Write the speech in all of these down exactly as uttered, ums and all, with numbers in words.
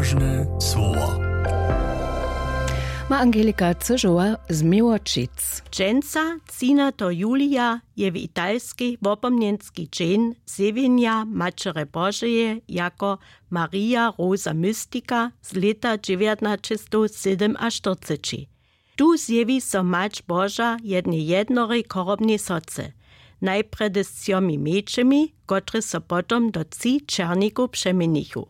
Słowa. Ma Angelika Cyžowa z Miłočic. Dźensa, třinateho julija, je w italskej wopomnjenski dźeń zjewjenja Maćerje Božeje jako Maria Rosa Mystica z lěta dźewjatnaćestowsydomaštyrceći. Tu zjewi so Mać Boža jednej jednorej chorobnej soce, najprjedy z třomi mjeńšimi, kotrež so potom do tři černikow přeměnichu.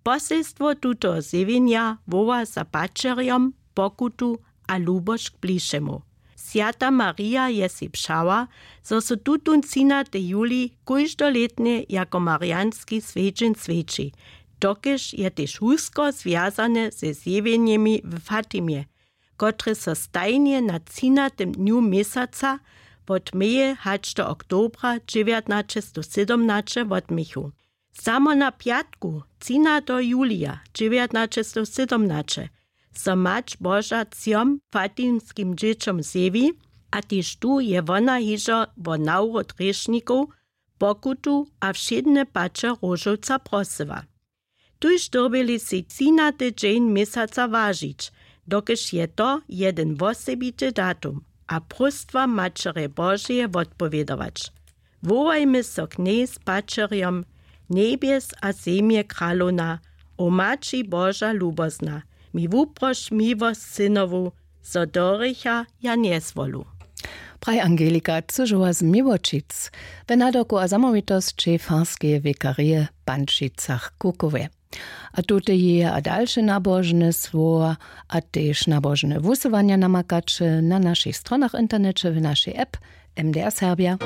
Poselstwo tutoho zjewjenja woła za paćerjom pokutu a lubosć k blišemu. Swjata Marija je sej přała, zo so tutón třinatej julij kóždolětnje jako marijanski swjedźeń swjeći, dokelž je tež wusko zwjazane ze zjewjenjemi w Fatimje, kotrež so stajnje na třinatym dnju měsaca wot meje hač do oktobra dźewjatnaćestowsydomnaće wotměchu. Samo na pjatku, třinateho julija dźewjatnaćestowsydomnaće, so Mać Boža třom fatimskim dźěćom zjewi, a tež tu je wona hižo wo nawrót hrěšnikow, pokutu a wšědne paće róžowca prosyła. Tuž dyrbjeli sej třinaty dźeń měsaca wažić, dokelž je to jedyn wosebity datum, a próstwam Maćerje Božeje wotpowědować. Wołajmy so k njej z paćerjom: Njebjes a zemje kralowna, o Maći Boža lubozna, mi wuproš miłosć synowu, zo do hrěcha ja njezwolu. Praji Angelika Cyžowa z Miłočic. We nadawku a zamołwitosći farskeje wikarije w Pančicach-Kukowje. A tute jeje a dalše nabožne słowa a tež nabožne wusyłanja namakaće na našich stronach w interneće, w našej app M D R Serbia.